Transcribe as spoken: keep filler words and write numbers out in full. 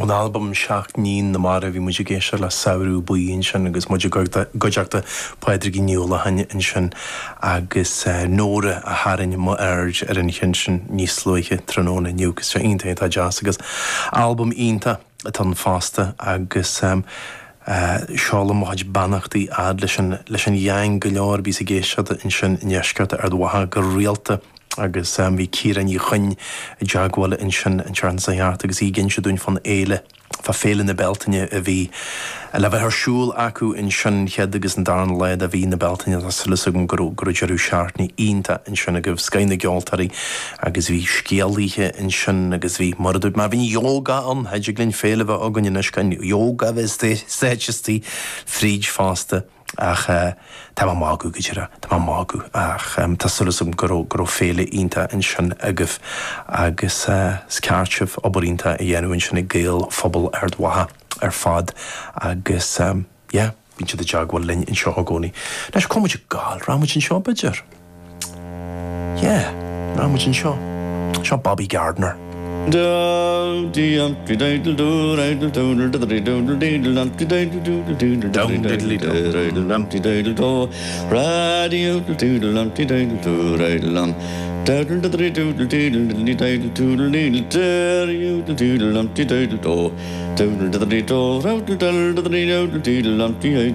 Ón albam Seacht nIníon na Mara bhí muid ag éisteacht le Samhradh Buí ansin agus muid i gcuideachta Pádraigín Ní Uallacháin ansin agus Nóra a tharraing m'aird ar an cheann sin níos luaithe tráthnóna inniu agus sé iontach atá deas agus albam iontach atá ann fosta agus um, Uh, seolaim mo chuid beannachtaí fhad leis an leis an gheaing go leor a bhíos ag éisteacht ansin i ndeisceart Ard Mhacha go rialta agus um, bhí Ciara Ní Chuinn i dteagmháil ansin an tseachtain seo thart agus í ag inse dúinn fán fhéile fá Féile na Bealtaine a bhí le bheith ar siúl acu ansin chéad agus an dara lá de mhí na Bealtaine tá súil agam go raibh go raibh deireadh seachtaine iontach ansin agaibh scoth na gceoltóirí agus bhí scéalaithe ansin agus bhí mar a dúirt mé bhí yoga ann thig linn féile bheith againn anois gan yoga bheith stáitistí fríd fosta ach uh, tá mé ag magadh go dtí tá mé ag magadh ach um, tá súil agam go raibh go raibh féile iontach ansin agaibh agus uh, is ceart sibh obair iontach a dhéanamh ansin ag Gaelphobal Ard Mhacha ar fad agus um, yeah, bíonn siad i dteagmháil linn anseo i gcónaí. Leis comuid gáil ramuid anseo b'fhéidir. Yeah, ramuid anseo. Seo Bobby Gardner. Do dee um dee do do do do do do do dee dum dee do do do do Dum diddly do. dum dee do do radio do dum dee do do dum do do do do dee dee do do dee do do dum dee do do do do do do do do do do dee dum dee